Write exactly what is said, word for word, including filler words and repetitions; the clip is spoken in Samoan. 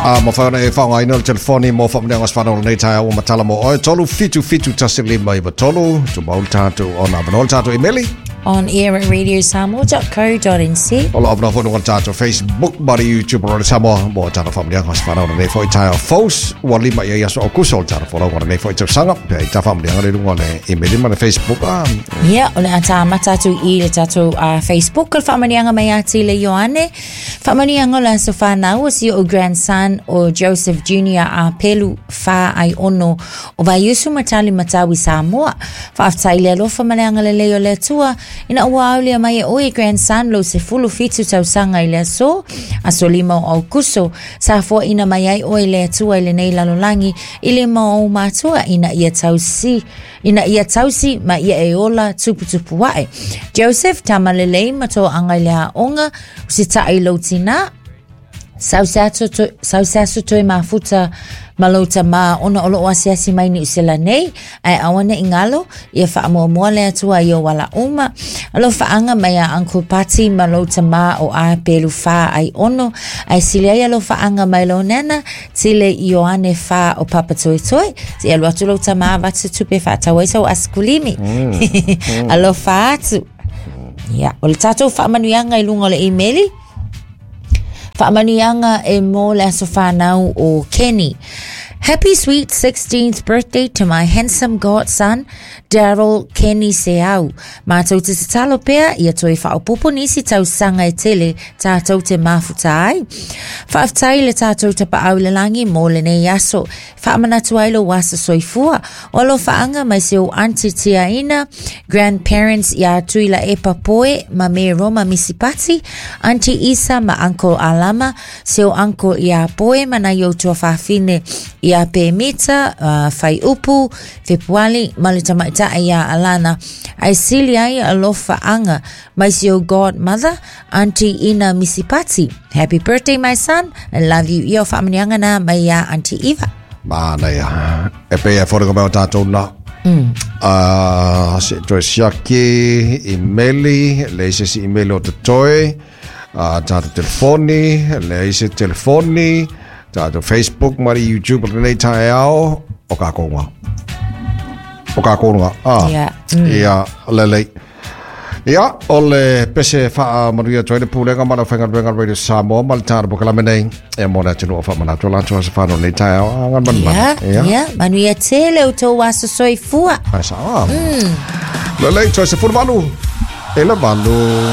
A mafai ona e faaaogaina le telefoni mo faamanuiaga o aso fanau o lenei taeao ua matala mo oe, tolu fitu fitu tasi lima iva tolu. Tumau le tatou ona avanoa le tatou imeli on air at radio samoa dot co dot n z. O lo o avanoa foi luga o le tatou Facebook ma le YouTube o Radio Samoa mo tatou faamanuiaga o aso fanau o lenei foi taeao fou ua lima i ai aso Aokuso o le tatou folauga o lenei foi tausaga. Pe ai ta faamanuiaga le luga o le imeli ma le Facebook a. Ia, o le a tāmata atu i le tatou uh, Facebook o le faamanuiaga mai ia Tile Ioane. Faamanuiaga o le aso fanau o si o'u grandson o Joseph Junior a Pelu Whā ai ono o Vaiusu Matali Matau i Samoa. Faafetai le alofa ma le agalelei o le Atua ina ua aulia mai e oe, grandson, lou sefulu fitu tausaga i le aso, aso lima o Aukuso. Sa foaina mai ai oe le Atua i lenei lalolagi i lima o ou matua ina ia tausi, ina ia tausi ma ia e ola tuputupu ae. Joseph, tama lelei ma toaga i le aoga, usitaʻi i lou tinā. Sau se aso to, sau se aso toe mafuta ma lou tamā ona o loo asiasi mai Niu Sila nei, ae aua neʻi galo ia faamuamua le Atua i ou ala uma. Alofaaga mai a Uncle Pati ma lou tamā o a Pelu Whā ai ono, ae sili ai alofaaga mai lou nana Tile Ioane Whā o Papa Toetoe. Se alu atu lou tamā avatu tupe faatau ai sau asikulimi. Mm. Alofa atu. Ia, o le tatou faamanuiaga i luga o le imeli. Faamanuiaga e mo le aso whanau o Kenny. Happy sweet sixteenth birthday to my handsome godson, Daryl Kenny Seau. Mātou te tatalo pea, ia toe whaopopo nisi tausaga e tele tātou te mafuta ai. Faafetai le tātou Tapaau i le lagi mo lenei aso. Whaamanatu ai lo aso soifua. O alofaaga mai si ou auntie Tiaina, grandparents ia Tuila Epa Poe, ma me Roma Misipati, Auntie Isa ma Uncle Alama, si ou uncle ia Poe ma nai ou tuafafine ia Pemita, uh, Whaiupu, Fepuali, ma le tamaitai ia Alana. Ae sili ai alofaaga mai si ou godmother, Auntie Ina Misipati. Happy birthday, my son. I love you. Ia o faamanuiaga na mai ia Auntie Eva. Manaia. E pei e foliga mai o tatou na. Mm. Uh, se toe siaki imeli, leai se isi imeli o totoe, uh, tatou telefoni, leai se telefoni, tatou Facebook ma le YouTube o lenei taeao, o kākou ngā. O kākou ngā. Ah. Ia. Mm. Ia, lelei. Ia, o le pese faamanuia atu ai le Pulega ma le Aufaigaluega Radio Samoa ma le tatou polokalame nei. E mo le atunuu o faamanatu latou aso fanau lenei taeao. A ngana Ia, Ia. ia, manuia tele o tou aso soifua. Ai sao. Mm. Lelei, toe sefulu valu. E le valu.